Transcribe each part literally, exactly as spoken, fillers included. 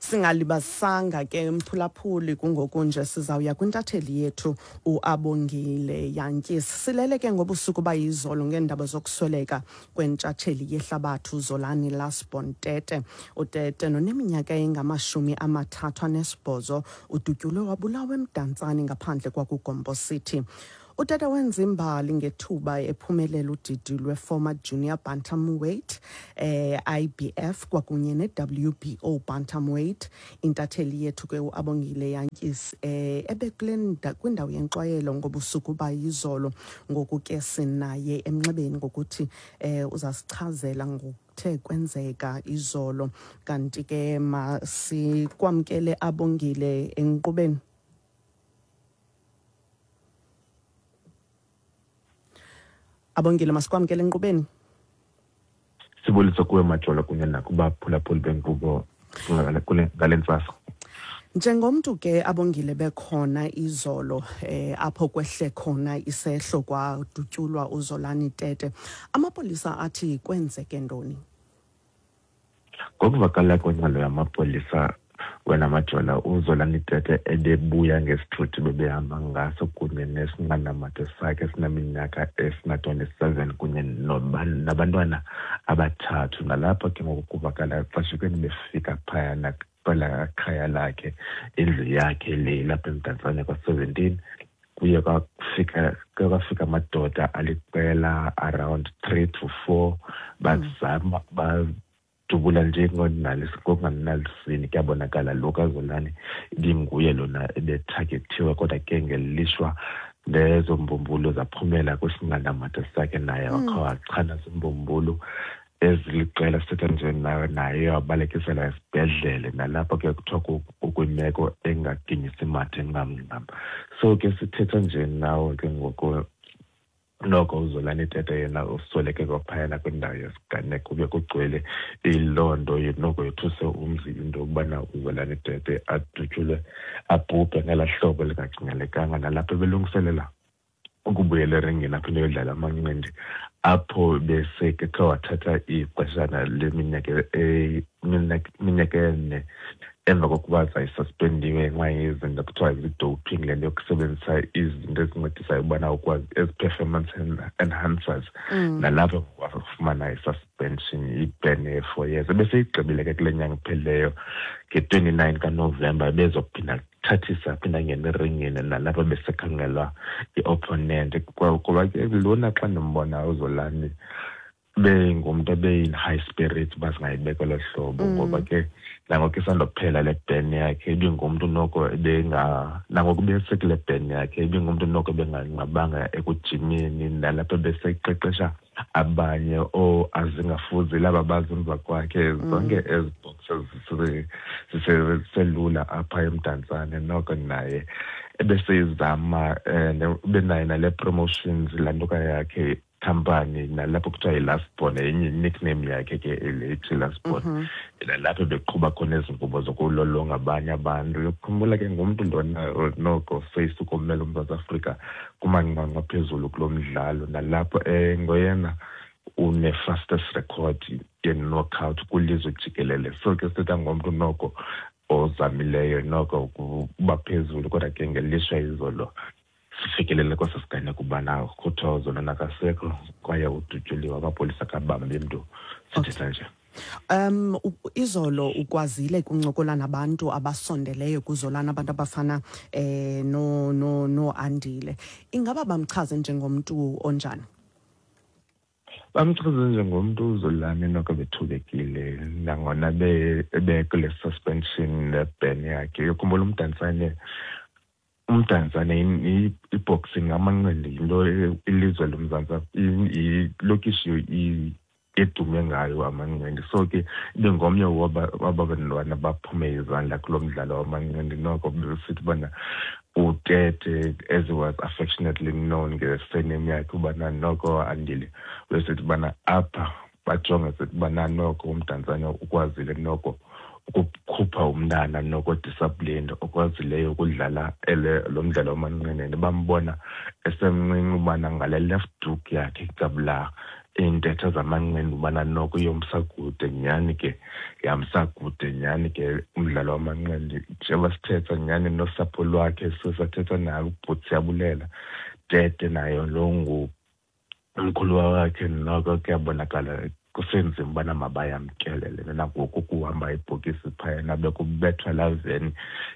Singalibazisanga ke, mphulaphuli, kungoku nje sizawuya kwintatheli yethu uAbongile Jantjies. Silele ke ngobusuku bayizolo ngeendaba zokusweleka kwentshatsheli yehlabathi uZolani Lastborn Tete. UTete noneminyaka engamashumi amathathu anesibhozo udutyulwe wabulawa eMdantsane ngaphandle kwakuGompo City. UTete wenza imbali ngethuba ephumelela udidi lwe-former junior bantamweight, eh I B F kwakunye ne-W B O bantamweight. Intatheli yethu ke uAbongile Jantjies eh ebekule kwindawo yenkxwayelo ngobusuku bayizolo. Ngoku ke sinaye emnxebeni ngokuthi eh uzasichazela ngokuthe kwenzeka izolo. Kanti ke masikwamkele, Abongile, enkqubeni. Abongile, masikwamkele enkqubeni. Sibulisa kuwe, Majola, kunye nakubaphulaphuli benkqubo kule ngale ntsasa. Njengomntu ke, Abongile, bekhona izolo eh apho kwehle khona isehlo kwadutyulwa uZolani Tete, amapolisa athi kwenzeke ntoni? Ngokuvakala kwengxelo yamapolisa, wena Majola, uZolani Tete ebebuya ngesithuthi bebehamba ngaso kunye nesinqandamathe sakhe esineminyaka esina-twenty-seven kunye nabantwana abathathu. Nalapho ke ngoku kuvakala xeshikweni befika phayana kwelaa khaya lakhe, indlu yakhe le ilapha eMdantsane kwa-seventeen, kuye kwafika kuye kwafika amadoda aliqela around three to four, bazama badubula nje ngokunganalisini. Kuyabonakala lo kaZolani ibinguye lona ebethagethiwe, kodwa ke ngelishwa lezo mbumbulu zaphumela kwisinqandamathe sakhe, naye wakha wachana zimbumbulu eziliqela. Sithetha nje nawe, naye wabalekiselwa esibhedlele, nalapho ke kuthiwa ukwimeko engaginyisi mathe ncam ncam. So ke sithetha nje nawe ke ngoku, noko uZolani Tete yena usweleke kwaphayana kwindawo yesiganeko. Kube kugcwele iloo nto, noko yothuse umzi into yokubana uZolani Tete adutyulwe abhubhe ngelaa hlobo lingacingelekanga, nalapho ebelungiselela ukubuyela eringini aphinde ayodlala amanqindi, apho bese ke khe wathatha ixeshana leminyaka iminyaka ene emva kokuba zayisuspendiwe ngenxa yezinto kuthiwa zii-doping, le nto yokusebenzisa izinto ezincedisayo ubana ukwazi ezi-performance enhancers. Mm. Nalapho wafumana i-suspension, i-ban ye-four years, ebeseyigqibile ke kule nyanga iphelileyo nge-twenty-nine kaNovemba. Ebezophinda thathisa, aphinda angene eringini, nalapho besekhangelwa i-opponent. Kuba ke lona xa ndimbona uZolani bengumntu ebeyin-high spirit, uba singayibeka olo hlobo, Mm. ngoba ke nangoku isandophela le ban yakhe, ibingumntu noko ebenga nangoku besekule ban yakhe, ibingumntu noko ebenganqabanga ekujimeni, nalapho beseqeqesha abanye ooAzingafuzi laba baza emva kwakhe. Zonke ezi boxers ziselula apha eMdantsane, noko naye ebeseyizama, um ubenayo nale promotions, laa ntoka yakhe company, nalapho kuthiwa yi-Last Born, yenye nickname yakhe ke le ithi Last Born, Mhm. nalapho beqhuba khona ezi nkqubo zokulolonga abanye abantu. Uyokhumbula ke ngumntu lona noko seyisukumela uMzantsi Afrika kumanqanqa aphezulu kulo mdlalo, nalapho um ngoyena une-fastest record ye-knockout kwilizwe jikelele. So ke sithetha ngomntu noko ozamileyo noko ukuba phezulu, kodwa ke ngelishwa izolo sifikelele kweso siganeko ubana kuthiwa uZolani akasekho kwaye udutyuliwe, amapolisa akabambi mntu sithetha nje. Um izolo ukwazile kuncokola nabantu abasondeleyo kuZolani, abantu abafana eh no no no Andile. Ingaba bamchaze njengomntu onjani? Bamchaze njengomntu uZolani noko bethubekile, nangona ebekule suspension ne-ban yakhe. Uyokhumbula uMdantsane, uMdantsane i-boxing, amanqindi, yinto ilizwe loMzantsi, ilokishi edume ngayo amanqindi. So ke ibingomnye waba bantwana baphume izandla kulo mdlalo wamanqindi. Noko besithi ubana uTete, as he was affectionately known nge-surname yakhe, ubana noko Andile besithi ubana apha bajonge sithi ubana noko uMdantsane ukwazile noko ukukhupha umntana noko disciplined, okwazileyo ukudlala ele lo mdlalo wamanqindi. Bambona esemncinci ubana ngale left hook yakhe gabula Iintetho zamanqindi ubana noko iyomsa kude nyhani ke, yamsa kude nyhani ke umdlalo wamanqindi. Njengoba sithetha nyhani nosapho lwakhe, sisathetha naye ubhuti Siyabulela Tete, naye lo ngumkhuluwa wakhe, noko kuyabonakala kusenzima ubana mabayamkele le nto. Nangoku kuhamba ibhokisi phayana bekubethwa laa veni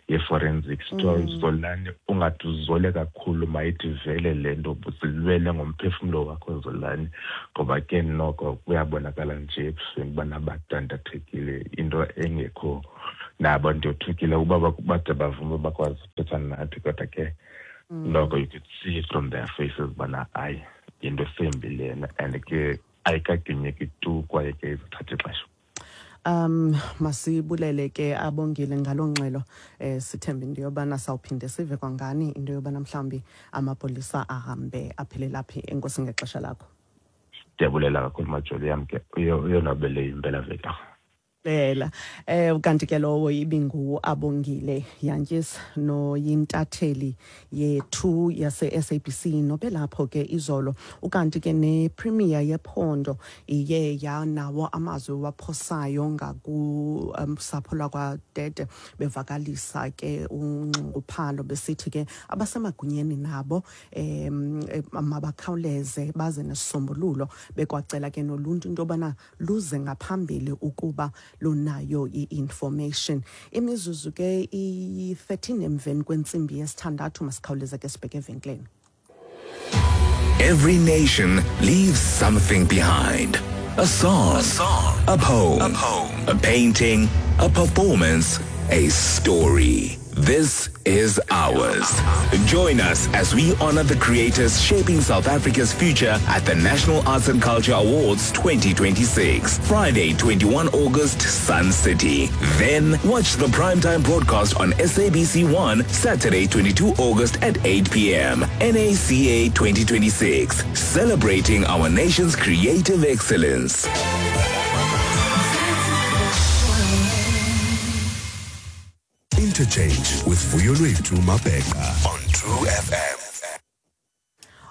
ye-forensics, kuthiwa Mm. Zolani ungathi uzole kakhulu, mayithi vele le nto, zilwele ngomphefumlo wakho Zolani, ngoba ke noko kuyabonakala nje ebusweni ubana badandathekile, into engekho nabo. Ndiyothukile uba bade bavume bakwazi ukuthetha nathi, kodwa ke noko you could see from their faces ubana hayi, yinto esembi lena and ke ayikaginyeki tu kwaye ke izothatha ixesha. Um masibulele ke Abongile ngaloo ngxelo. eh sithembe into yobana sawuphinde sive kwangani into yobana mhlawumbi amapolisa ahambe aphelela phi. Enkosi ngexesha lakho. Ndiyabulela kakhulu Majoli yam ke, uyonwabele impelaveki. Lela eh kanti ke lowo ibingu Abongile Jantjies noyintatheli yethu yase S A B C nobelapho ke izolo. Ukanti ke ne premier yephondo iye yanawo amazwi waphosayo ngaku um, sapho lwakwaTete, bevakalisa ke unxunguphalo besithi ke abasemagunyeni nabo em mabakhawuleze baze nesisombululo, bekwacela ke noluntu into yobana luze ngaphambili ukuba lunayo i-information. Imizuzu ke iyi-thirteen emveni kwentsimbi yesithandathu, masikhawuleze ke sibheke evenkileni. Every nation leaves something behind. A song, a, song, a poem, a poem, a painting, a performance, a story. This is ours. Join us as we honor the creators shaping South Africa's future at the National Arts and Culture Awards twenty twenty-six. Friday, twenty-one August, Sun City. Then watch the primetime broadcast on S A B C one, Saturday, twenty-two August at eight p m. N A C A twenty twenty-six. Celebrating our nation's creative excellence. Interchange with Vuyolwethu Mabheka on True F M.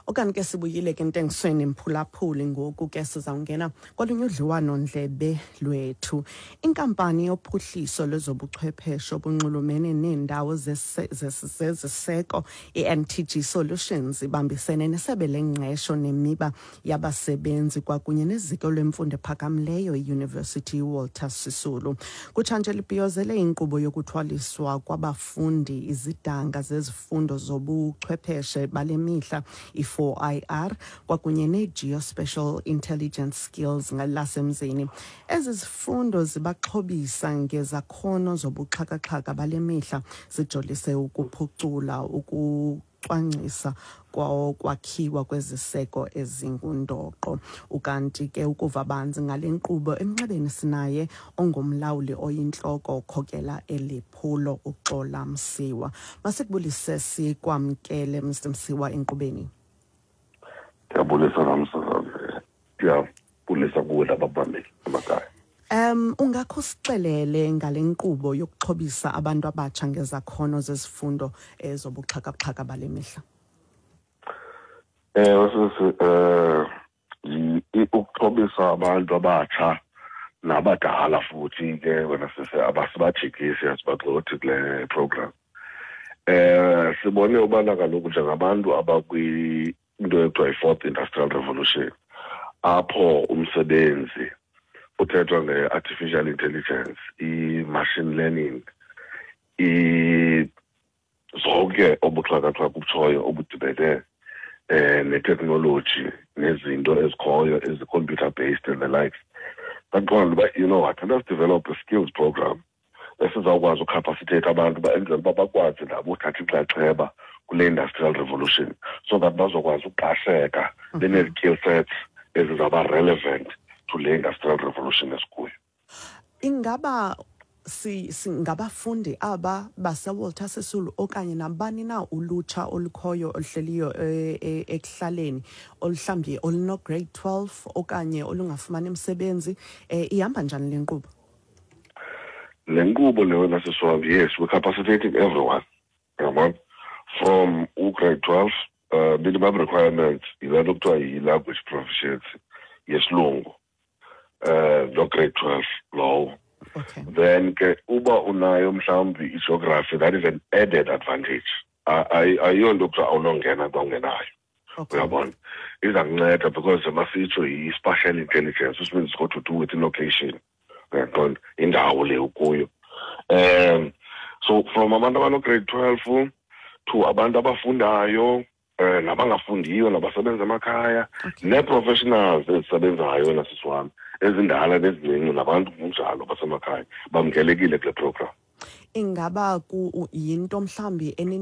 Okanye ke sibuyile ke entengisweni mphulaphuli, ngoku ke sizawungena kolunye udliwano-ndlebe lwethu. Inkampani yophuhliso lwezobuchwepheshe obunxulumene neendawo zeziseko i-N T G Solutions ibambisene nesebe lengqesho nemiba yabasebenzi kwakunye neziko lwemfundo ephakamileyo iUniversity Walter Sisulu. Kutshanje libhiyozele inkqubo yokuthwaliswa kwabafundi izidanga zezifundo zobuchwepheshe bale mihla i-four I R kwakunye ne-Geospatial Intelligence Skills ngelasemzini. Ezi zifundo zibaxhobisa ngezakhono zobuxhakaxhaka bale mihla, zijolise ukuphucula ukucwangcisa kwakhiwa kweziseko ezingundoqo. Ukanti ke ukuva banzi ngale nkqubo, emnxebeni sinaye ongumlawuli oyintloko okhokela eli phulo, uXola Msiwa. Masikubulise sikwamkele, Mister Msiwa, enkqubeni. Ndiyabulisa namsakazi, ndiyabulisa kuwe nababameli emakhaya. Um ungakho sixelele ngale nkqubo yokuxhobisa abantu abatsha ngezakhono zezifundo ezobuxhakaxhaka bale mihla? Ewe sisi, eh ukuxhobisa abantu abatsha nabadala futhi ke wena sisi, abasibajikisi, asibagxothi kule program. Eh sibone ubana kaloku njengabantu abakwi into ekuthiwa yi-fourth industrial revolution, apho umsebenzi uthethwa nge-artificial intelligence, i-machine learning, i zonke obuxhakaxhaka obutshoyo obudibene eh ne-technology nezinto ezikhoyo ezi-computer based and the likes, baqonda uba, you know what, let us develop a skills program esizawukwazi ucapacitate abantu uba enzela uba bakwazi nabo uthatha inxaxheba kule industrial revolution, so that bazokwazi uqasheka benezi-skill sets ezizawuba relevant to le industrial revolution esikuyo. Ingaba si singabafundi aba baseWalter Sisulu okanye nabani na ulutsha olukhoyo oluhleliyo e- e- ekuhlaleni oluhlawumbi oluno grade twelve okanye olungafumani umsebenzi, eh ihamba njani le nkqubo? Le nkqubo le wena sisi, yes, we're capacitating everyone, yabona, from ugrade twelve. uh, minimum requirement yile nto kuthiwa yi-language proficiency. Yesilungu, eh lo grade twelve lowo. Okay. Then ke uba unayo mhlawumbi i-geography, that is an added advantage. Ayiyonto kuthiwa awunongena xa ungenayo. Okay. Uyabona, iza kunceda because masitsho yi-spatial intelligence, which means it's got to do with location, uyaqonda, indawo le ukuyo. um so from abantu abano-grade twelve to abantu abafundayo, um nabangafundiyo, nabasebenza emakhaya, Okay. nee-professionals ezisebenzayo nasisi wami, ezindala nezincinci, nabantu kunjalo basemakhaya, bamkelekile kule program. Ingaba ku yinto mhlambi